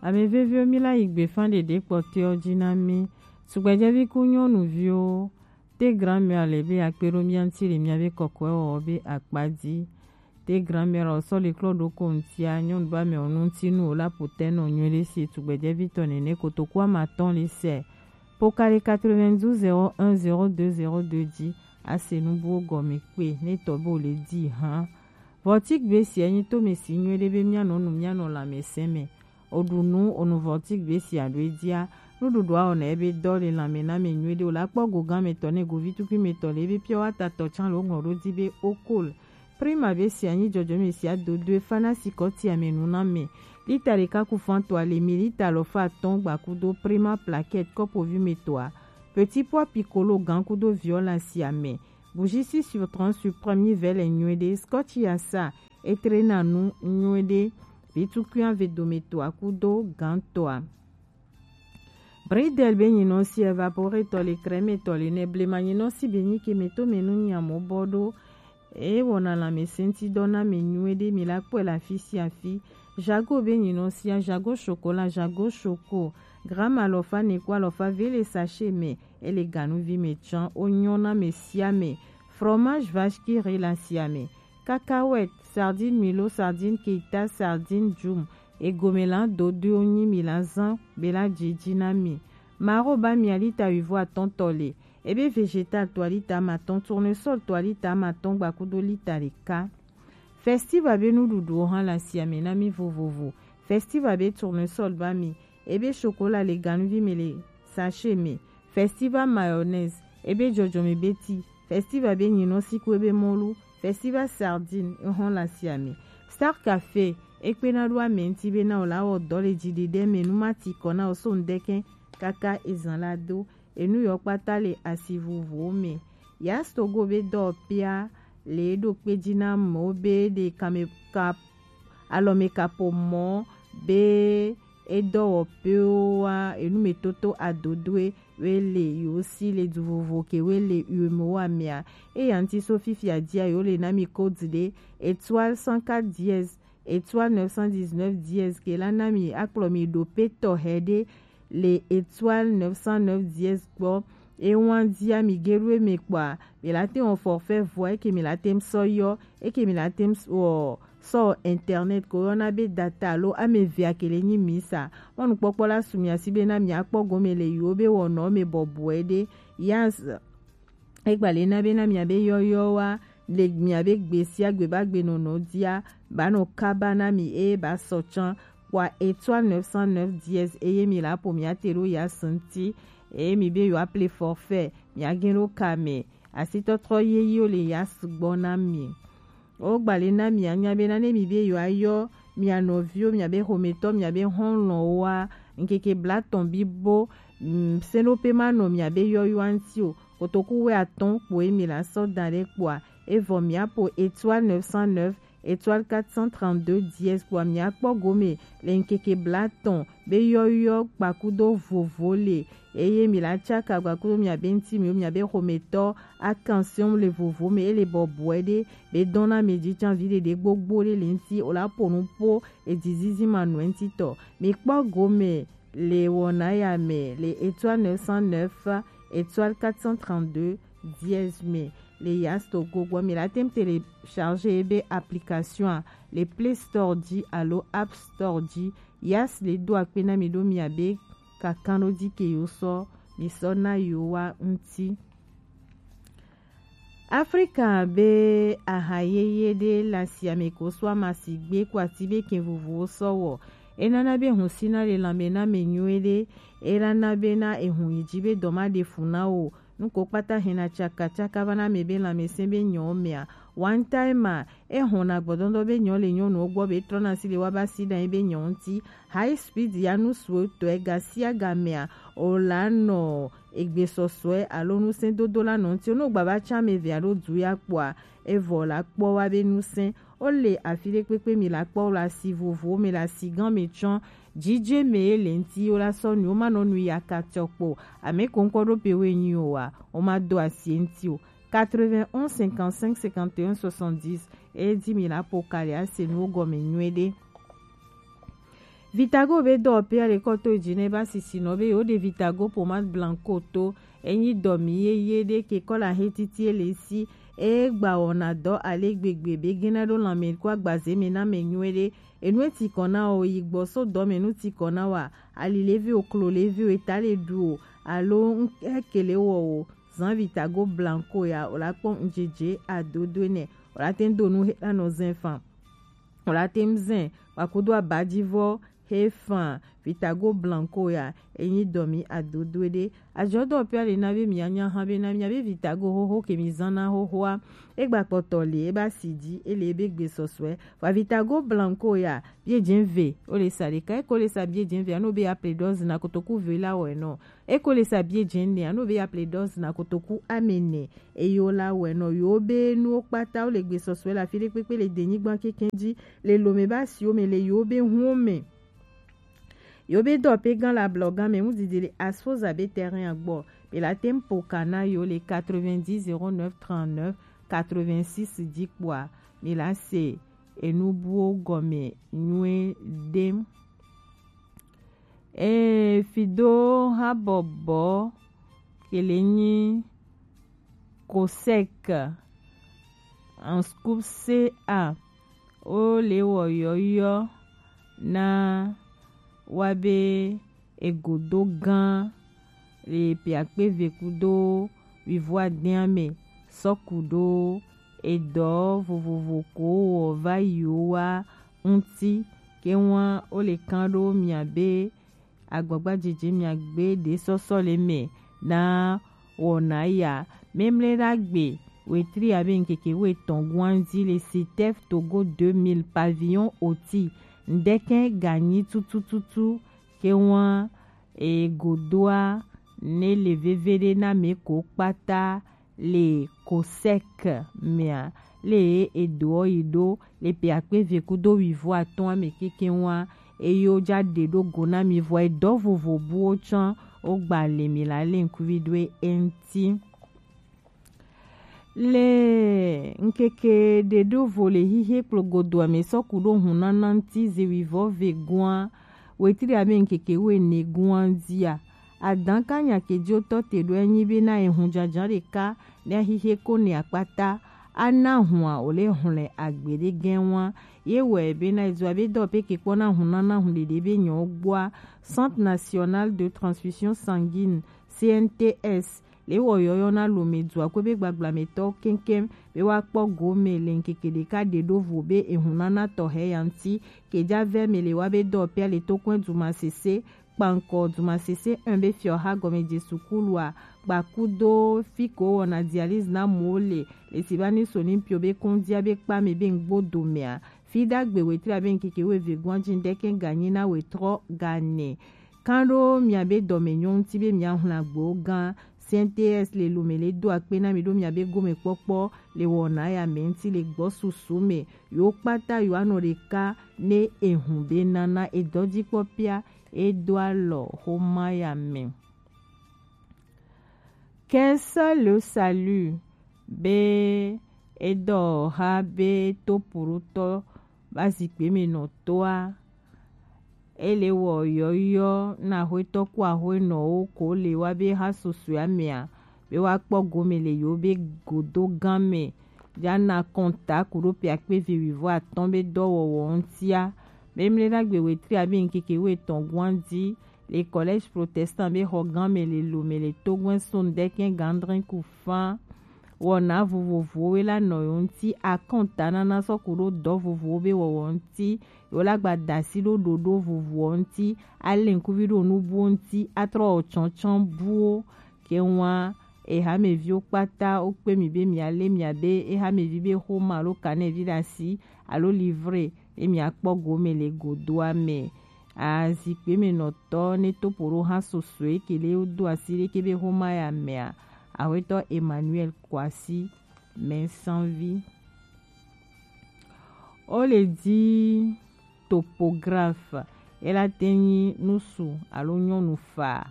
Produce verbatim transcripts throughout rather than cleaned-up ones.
Ame veviwo, mi la yi gbefa ɖeɖe kpɔtɔewo ji na mi. Tugbedzɛvi ku nyɔnuviwo, te grand-mère le be akpe ɖo mia ŋuti le miabe kɔkɔewɔwɔ be akpa dzi. Te grand-mère o sɔ le klɔ ɖo ko ŋutia, nyɔnu ba mɛ o nu ŋuti nu o la po tɛ nɔ nyuie ɖe si tugbedzɛvi tɔ nene kotoku ama tɔn le sɛ. Pokali quatre-vingt-douze zéro un zéro deux zéro deux ji, ase nu buwo gɔme kpe, ne tɔ bo le di hã. Vɔtik be si enyi to me si nyuie ɖe be mianɔ nu, mianɔ lãmesẽ me. Oɖu nu, onu vɔtik be si aɖo edzia. Nuɖuɖua wɔna ebe dɔ le lãme na me nyuie ɖe o la kpɔ go gã me tɔ ne govi tukui me tɔ le ebe pure water tɔ tsã le woŋlɔ ɖo di be okol. Prima be si anyi dzɔdzɔme si adodoe fana si kɔtia me nu na me. Lita ɖeka ku fan toa le mi lita alɔfa atɔ̃ gbakudo Prima plaquette kɔpovi me toa. Petit pois piccolo gã kudo viola sia me. Bougie six sur trente sur premier vele nyuie ɖe. Scotch ya sa etrena nu nyuie ɖe. Vitukui ave dome toa kudo gã toa. Bridel be nyinɔ si evaporetɔ le crème tɔ le nɛ blema nyinɔ si be nyi ke me to me nu nyamo bɔ ɖo. Eye wɔna lãmesẽŋutidɔ na mi nyuie ɖe, mi la kpɔe le afi sia afi. Jago be nyinɔ sia, Jago chocolat, Jago choco, gramme alɔfa ne ku alɔfa ve le sachet me, ele ganuvi me tsã, wonyɔ na ame sia ame. Fromage vache qui rit le asia me. Cacahuète, sardine milo, sardine keita, sardine djum, egome la dodoe wonyi mi la zã be la dzidzi na mi. Maro ba mia lita wuivo atɔ̃ tɔ le. Ebe végétal toa lita amatɔ̃, tournesol toa lita amatɔ̃ gbakudo lita ɖeka. Festiva be nuɖuɖuwo hã le asia me na mi vovovo. Festiva be tournesol ba mi, ebe chocolat le ganuvi me le sachet me. Festiva mayonnaise, ebe dzɔdzɔme be ti. Festiva be nyinɔ si ku ebe mɔlu. Festiva sardine ehɔn le asia me. Star Café ekpena ɖo ame ŋuti be na o la wɔ dɔ le dziɖeɖe me nu ma ti kɔ na o so ŋdɛkɛ kaka ezã la do. Enu yɔ kpata le asi vovovowo me. Yas Togo be dɔwɔƒea le ɖo kpe dzi na amewo be ɖe kame ka alɔmekaƒomɔ be edɔwɔƒewoa enumetoto adodoe woe le yewo si le du vovo ke woe le uemowoa mea. Eya ŋuti so fifia dzia yewo le na mi code ɖe étoile cent quatre dièse étoile neuf cent dix-neuf dièse ke la na mi akplɔ mi ɖo pe tɔxɛ ɖe le étoile neuf cent neuf dièse gbɔ. Ewan dia mi ge ɖo eme kpɔa, mi la te wɔ forfait vɔ eke mi la te sɔ yɔ, eke mi la te wɔ sɔ internet ko yɔna be data alo ame evea ke le nyi mi sa. Mɔnukpɔkpɔ la su mia si be na mi akpɔ gome le yiwo be wɔnɔ me bɔbɔe ɖe. Yas Egba le na be na miabe yɔyɔwa le miabe gbe sia gbe ba gbe nɔnɔ dia ba nɔ kaba na mi eye ba sɔ tsã kpɔa étoile neuf cent neuf dièse eye mi la ƒo miate ɖo Yas ŋuti eye mi be yewoa ple forfait miage ɖo ka me. Asitɔtrɔ yeyewo le Yas gbɔ na mi. Wogba le na mia nya bena ne mi be yewoayɔ mia nɔviwo, miabe xometɔ, miabe xɔlɔ̃woa, ŋkeke blatɔ̃ bibo, mm, seɖoƒe manɔ miabe yɔyɔa ŋuti o. Kotoku wuiatɔ̃ kpoe mi la sɔ da ɖe kpɔa, evɔ miaƒo étoile neuf cent neuf, étoile quatre cent trente-deux dièse kpɔa miakpɔ gome le ŋkeke blatɔ̃ be yɔyɔ kpakudo vovo le eye mi la tsaka gbakudo miabe ŋuti miwo miabe xometɔ akansiɔm le vovo me ele bɔbɔe ɖe be dɔn na mi dzi tsã viɖe ɖe gbogbo ɖe le ŋuti o la ƒo nu ƒo edzizizi manɔe ŋuti tɔ. Mi kpɔ gome le wɔna ya me le étoile neuf cent neuf, étoile quatre cent trente-deux dièse me le Yas Togo gbɔ. Mi la tem télécharger ebe application le Play Store dzi alo App Store dzi. Yas le do akpe na mi ɖo miabe kakanɖodzi ke yewo sɔ mi sɔ na yewoa ŋuti. Afrika be aha yeye ɖe le asiame ko sɔ ama sigbe ko ati be kɛn vovowo sɔ wɔ. Enana be hun sina le lãme na ame nyuie ɖe. Elana be na ehun yi dzi be dɔ ma ɖe fu na o. Nuko kpata hɛna tsakatsaka va na ame be lãmesẽ be nyɔ mea. One time a, Ehɔna gbɔdɔdɔ be nyɔ le nyɔnuwo gbɔ be trɔna si le wa ba si ɖe anyi be nyɔ ŋuti. High speed ya nu suetɔe ga sia ga mea, o la nɔ egbesɔsɔe alo ŋusẽdodo la nɔ ŋuti. Ne wogba va tsã ame eve alo du ya kpɔa, evɔ la kpɔ wa be ŋusẽ. Wole afi ɖe kpekpe mi la kpɔ wo le asi vovowo me le asi gã me tsɔ. Dzidze me ye le ŋuti wo la sɔ nu wo ma nɔ nu ya ka tsɔ kpɔ. Ame ko ŋkɔ ɖo pe wo enyi o wa, wo ma do asi ŋuti o. Quatre-vingt-onze cinquante-cinq cinquante et un soixante-dix. Eye di mi la po kali ase nuwo gɔme nyuie ɖe. Vitago be dɔ pe ale kɔ to ji ne ba sisi nɔ be yo de Vitago pommade blanco to. Enyi dɔ mi ye ye de ke kɔ la he titi ele si. E gba wɔna dɔ ale gbegbe be gena ɖo lanmɛ ko agbaze me na mɛ nyuie de. Enu e ti kɔ na o yi gbɔ so dɔ mɛ nu ti kɔ na wa. Ali levi o, klo levi o, eta le ɖu o. Alo n-, ekele wɔ o. Zan Vitago blanco ya, o la kpɔ ŋjeje adodo ne. O la te do nu he la nɔ zɛn fan. O la te zɛn, wa kudo abajivɔ he fan. Vitago blanco ya, enyi dɔ mi adodo de. Ajɔ dɔ pe ale na be mi anya hã be na mi be Vitago hoho ke mi zan na hohoa. E gba kpɔtɔ le, e ba si ji, ele be gbe sɔsɔe. Wa Vitago blanco ya, bie jɛn ve, o le sa de ka, e ko le sa bie jɛn ve, ano be ya ple dɔzi na kotoku ve la wɔ enɔ. E ko le sa bie jɛn ne, ano be ya ple dɔzi na kotoku amene. Eyo la wɛ nɔ yo be nuwo kpata wo le gbe sɔsɔe la fi ɖe kpekpe le denyigban kɛkɛ ji, le lome ba siwo me, le yo be hun me. Yo be dɔ pe gan la blɔ gan me mu didi le asfoza be terrain agbɔ. Be la tem po kana yo le quatre-vingt-dix zéro neuf trente-neuf quatre-vingt-six ji kpɔa. Me la se enu buwo gɔme nyuie dem. Ee, fido habɔbɔ kele nyi COSEC en scoop C A, o le wɔ yɔyɔ na wa be egodo gan le piakpe ve kudo wivo adɛn me sɔku ɖo edɔ vovovo ko wɔ va yi wa ŋuti. Ke wa o le kan ɖo mia be agbagba jeje mia gbe ɖe sɔsɔ le me na wɔna ya. Memle ɖagbe wetri abe ŋkeke wetɔn guanzi le Sitef Togo deux mille pavillon oti. Ŋdɛkɛ ganyi tutututu ke wa e godoa ne le veve ɖe na me ko kpata le COSEC mea, le edoɔ yi ɖo le pe akpe ve kudo wivo atɔn ame keke wa, eye wo ja ɖe ɖo go na mi vɔ edɔ vovo buwo tsã wo gba le mi la le ŋkuvi ɖo eŋti. Le ŋkeke ɖe ɖo vo le hihe kplogodo ame sɔku ɖo hun nana ŋti ze wivɔ ve gua, wetri abe ŋkeke wene gua dia. Adan ka nya ke jo tɔ te ɖo enyi be na ehun jajan ɖeka ne ahihe ko ne akpata. Ana hua o le hlɛ agbe ɖe gɛn wa. Ye wɛ be na ezo abe dɔ pe ke kpɔ na hun nana hun ɖeɖe be nyɔ gbɔa. Centre National de Transfusion Sanguine, C N T S, le wɔ yɔyɔ na lome dua ko be gbagblame tɔ keŋkeŋ be wa kpɔ go me le ŋkeke ɖeka ɖe ɖo vo be ehun nana tɔ he ya ŋti. Ke ja vɛ me le wa be dɔ pe ale to kɔn duma sese kpankɔ duma sese un be fiɔ ha gɔme je sukulua, kpakudo fi ko wɔna dialyse na mo le, le si ba ni so ni pio be kondia be kpa me be ŋgbo do mea. Fi ɖagbe wetri abe ŋkeke weve gɔn ji ŋdɛkɛ ganyi na wetrɔ gane. Kan ɖo mia be dɔme nyɔ ŋti be mia hla gbo gan. C N T S le lome le do akpe na mi ɖo mia be gome kpɔkpɔ le wɔna ya me ŋti le gbɔ susu me. Yo kpata yo anɔ ɖeka ne ehun be nana edɔ ji kpɔ pia e do alɔ xoma ya me. Qu'est-ce le salut? Be edɔ ha be to purutɔ ba zikpe me nɔ toa. Ele wɔ yɔyɔ na axwetɔ ku axwenɔwo ko le wa be ha susue amea be wa kpɔ gome le yo be godo gan me. Ja na kɔnta ku ɖo pe akpe ve wivɔ atɔn be dɔwɔwɔ ŋtia. Be mle ɖagbe wetri abe ŋkeke wetɔn guan di le collège protestant be xɔ gan me le lome le togbɛn so ŋdɛkɛ gandrin ku fan. Wɔna vovovowo we la nɔ yo ŋti akɔnta nana sɔku ɖo dɔ vovowo be wɔwɔ ŋti. Yo la gba dasi ɖo ɖoɖo vovowo ŋti. Ale ŋkuvi ɖo nubuwo ŋti. Atrɔ tsɔntsɔn buwo. Ke wa ehameviwo kpata wo kpe mi be mia le mia be ehamevi be xoma alo kanɛvi ɖe asi alo livre ye mia kpɔ gome le godoa me. Azikpe me nɔtɔ ne topo ɖo ha sosoe ke le wo do asi ɖe ke be xoma ya mea, axwetɔ Emmanuel Kwasi Mɛnsanvi. Wo le di topographe, ela te nyi nusu alo nyɔnu fa.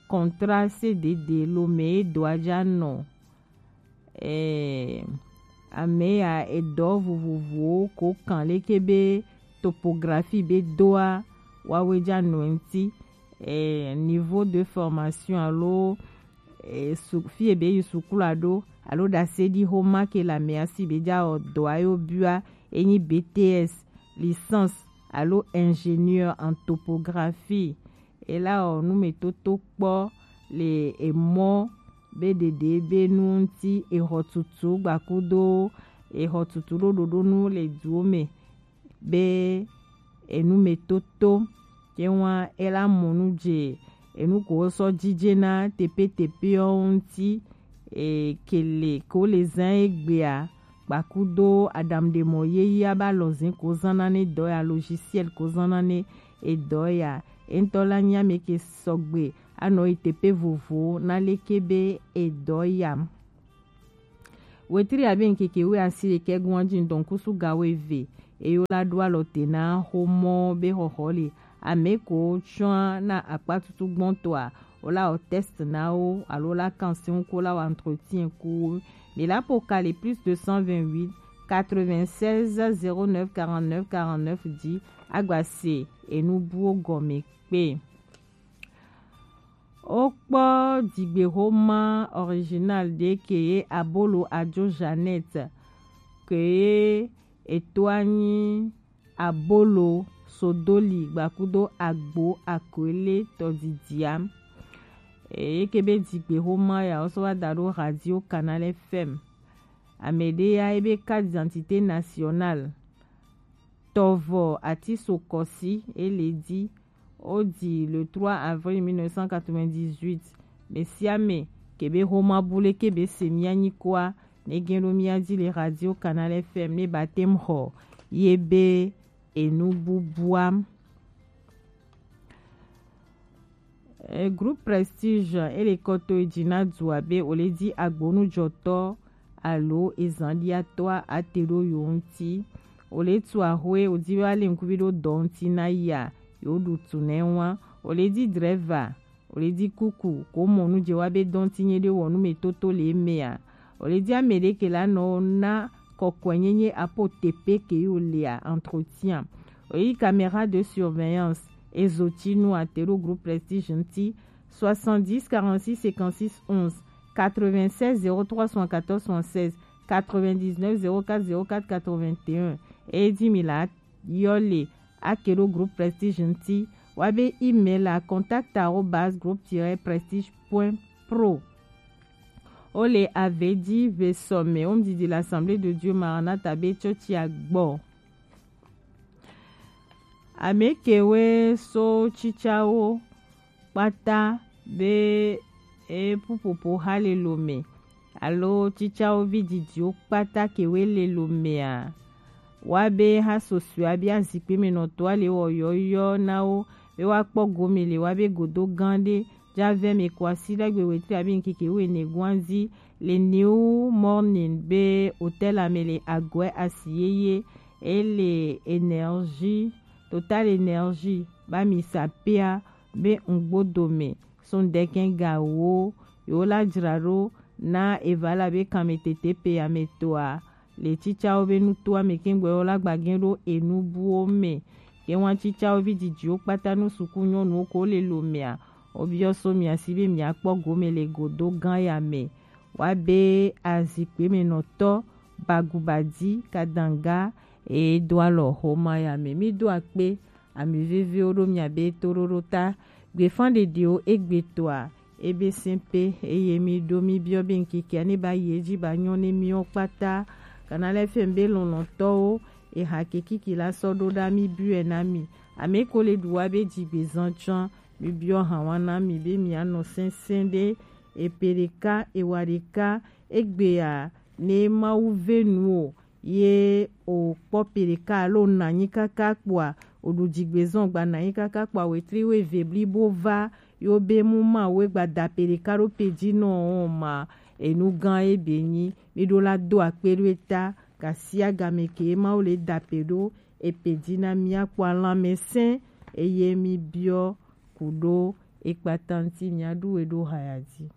Contrat C D D lo me e do aja nɔ. Eh, ame ya edɔ vovovowo ko kan leke be topografi be doa, wawe ja nɔ ŋuti, eh, niveau de formation alo, eh, su, fi ebe yi sukulu ado alo dasedi homa ke la me asi be ja o dɔ ayo bua enyi B T S, licence alo ingénieur en topographie. Ela o numetoto kpɔ le emɔ be ɖeɖe be nu ŋuti exɔ tutu gbakudo exɔ tutu ɖo ɖoɖo nu le duwo me be enu me toto. Ye ŋua ela mɔ nu dze enu ko sɔ dzidze na tepe tepe ŋuti, e, kele ko le zã egbea kpakudo aɖaŋuɖemɔ yeyea ba lɔzin ko zana ne dɔ ya, logiciel ko zana ne edɔ ya. Entɔ la nya me ke sɔgbe anɔ yi tepe vovo na leke be edɔ ya. Wetri abe ŋkeke wu asi ɖekɛ gɔn dzi ŋdɔn kusu gawo eve. Eyo la ɖo alɔ te na xomɔ be xɔxɔ le ame ko tsɔa na akpa tutu gbɔntɔa, wo la wɔ test na wo alo la kan si ŋu ko la wɔ entretien ku wo. Mi la po kali plus deux cent vingt-huit, quatre-vingt-seize, zéro neuf, quarante-neuf, quarante-neuf dzi agba se enu buwo gɔme kpe. Wokpɔ dzigbexoma original ɖe ke ye Abolo Adzo Jeannette ke ye etoa nyi Abolo Sodoli gbakudo Agbo Akoele tɔdidia. Eye ke be dzigbexoma ya wo sɔ wa da ɖo Radio Canal F M. Ame ɖe ya ebe carte d'identité nationale tɔvɔ ati so kɔsi ele di. Wodi le trois avril mille neuf cent quatre-vingt-dix-huit. Mesiame kebe homa bule kebe se mia nyikoa ne gen ɖo mia di le Radio Canal F M ne batem xɔ ye be enu bubua. E, groupe Prestige ele kɔto edzi na dua be wole di agbonujɔtɔ alo ezanɖiatɔa ate ɖo yo ŋuti. Wole tu axwe wodi be wale ŋkuvi ɖo dɔ ŋuti na ya yo ɖu tu nɛ wa. Wole di drɛva, wole di kuku ko mɔ nu dze wa be dɔ ŋuti nye ɖe wɔ nu me toto le emea. Wole di ame ɖe ke la nɔ na kɔkɔe nyenye apo tepe ke yo lea entretien. Wole di caméra de surveillance ezo tsi nu ate ɖo groupe Prestige ŋuti. Soixante-dix, quarante-six, cinquante-six, onze, quatre-vingt-seize, zéro trois, soixante-quatorze, soixante-seize, quatre-vingt-dix-neuf, zéro quatre, zéro quatre, quatre-vingt-un. Eye di mi la yɔ le ake ɖo groupe Prestige ŋuti. Wa be email la contact arobase groupe tiret prestige point pro. Wole ave di ve sɔme wo ŋdidi l'Assemblée de Dieu Maranatha be tsɔtsia gbɔ. Ame kewe so tsitsawo kpata be e pupopo ha le lo me alo tsitsawo vi didiwo kpata kewe le lo mea, wa be ha sosua be azikpe me nɔtɔa le wɔ yɔyɔ na wo be wa kpɔ gome le wa be godo gan ɖe ja vɛ me ko asi ɖagbe wetri abi ŋkeke wene guanzi le New Morning be hôtel ame le agɔe asi yeye ele énergie Total Energy ba mi sapea be ŋgbo dome so ŋdɛkɛn ga wo yo la dzra ɖo na eva la be kanmetete pe ametoa le tsitsawo be nutoa me kɛngbɛ wo la gbagɛn ɖo enu buwo me. Ke wan tsitsawo vi didiwo kpata nu suku nyɔnuwo ko le lo mea, wo biɔ so mia si be mia kpɔ gome le godo gan ya me. Wa be azikpe me nɔtɔ bagubadi kadanga e do alɔ xoma ya me. Mi do akpe ami veviwo ɖo mia be toɖoɖo ta. Gbefan ɖeɖewo egbe toa ebe sɛn pe eye mi ɖo mi biɔ be ŋkekea ne ba yi edzi ba nyɔ ne miwo kpata. Kana lɛ fɛn be lɔlɔtɔwo eha kekiki la sɔ ɖo ɖa mi biɔe na mi. Ame ko le ɖu wa be dzigbezan tsɔn mi biɔ ha wa na mi be mia nɔ sɛnsɛn ɖe epe ɖeka ewa ɖeka egbea ne Mawu ve nu o ye o kpɔ pe ɖeka alo na anyi kaka kpoa o ɖu dzigbezɔn gba na anyi kaka kpoa wetri wo eve blibo va yo be mu ma wo gba da pe ɖeka ɖo pe dzi nɔ o ma enu gan ye be nyi mi ɖo la do akpe ɖo eta gasia game ke Mawu le da pe ɖo epe dzi na mia kpoa lanmɛsɛn eye mi biɔ ku ɖo ekpata ŋuti mia ɖu we ɖo haya dzi.